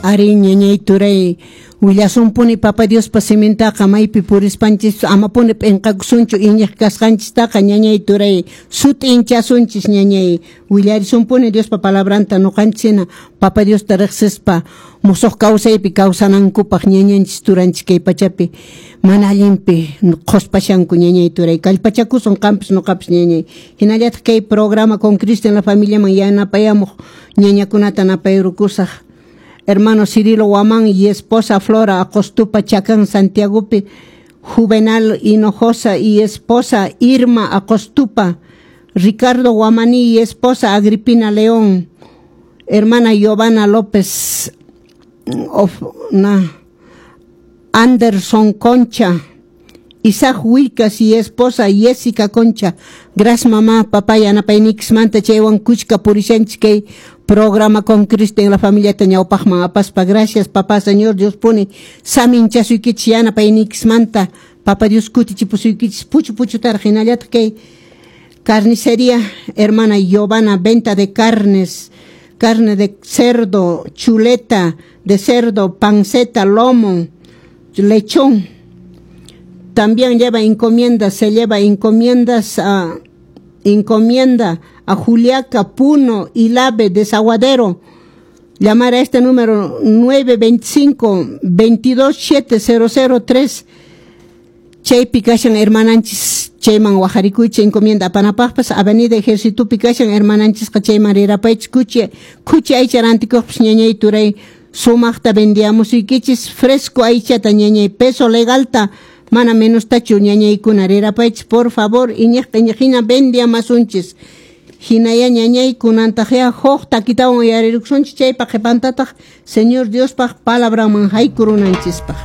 Ari, ñañay turay, willasunpuni Papa Diospa simintaqa maypi purispanchis amapuni p'inqakusunchu iñiq kasqanchistaqa, ñañay turay, sut'inchasunchis, ñañay, willarisunpuni Diospa palabranta ñuqanchis Papa Diosta riqsispa musuq kawsaypi kawsanankupaq ñañanchis turanchis kay pachapi mana allinpi qhuspashanku, ñañay turay, kallpachakusun qampis ñuqapis, ñañay. Hinallataq kay programa Con Cristo en la Familiaman yanapayamuq ñañakunata napayrukusaq: hermano Cirilo Guamán y esposa Flora Acostupa, Chacán, Santiagopi; Juvenal Hinojosa y esposa Irma Acostupa; Ricardo Guamaní y esposa Agripina León; hermana Giovanna López, of, na, Anderson Concha, Isaac Huilcas y esposa Jessica Concha. Gracias, mamá, papá, yanapaynikismanta, chaywan kuchka purishanchik kay programa Con Cristo en la Familia ñawpaqman apaspa. Gracias, papá, Señor Dios puni saminchasuykichis yanapaynikismanta. Papa Dios kutichipusuykichis puchu puchutaraq. Hinallataq kay carnicería hermana Giovanna, venta de carnes, carne de cerdo, chuleta de cerdo, panceta, lomo, lechón. También lleva encomiendas, se lleva encomiendas a encomienda a Juliaca, Puno, Ilave, Desaguadero. Llamar a este número 925 227 003. Chaypi kashan hermananchis, chayman wajarikuychik encomienda apanapaqpas. Avenida Ejércitopi kashan hermananchisqa, chayman rirapaychik. Kuchi aycha rantikuqpas, ñañay turay, sumaqta vendiamusuykichis fresco aychata, ñañay, peso legalta, mana menostachu, ñañaykuna, rirapaychik, por favor, iñiqta iñiqhina vendiamasunchis. Hinaya, ñañay, kunantaqya huk takitawan uyarirukusunchik, chaypa qhipantataq Señor Diospaq palabranman haykurunanchispaq.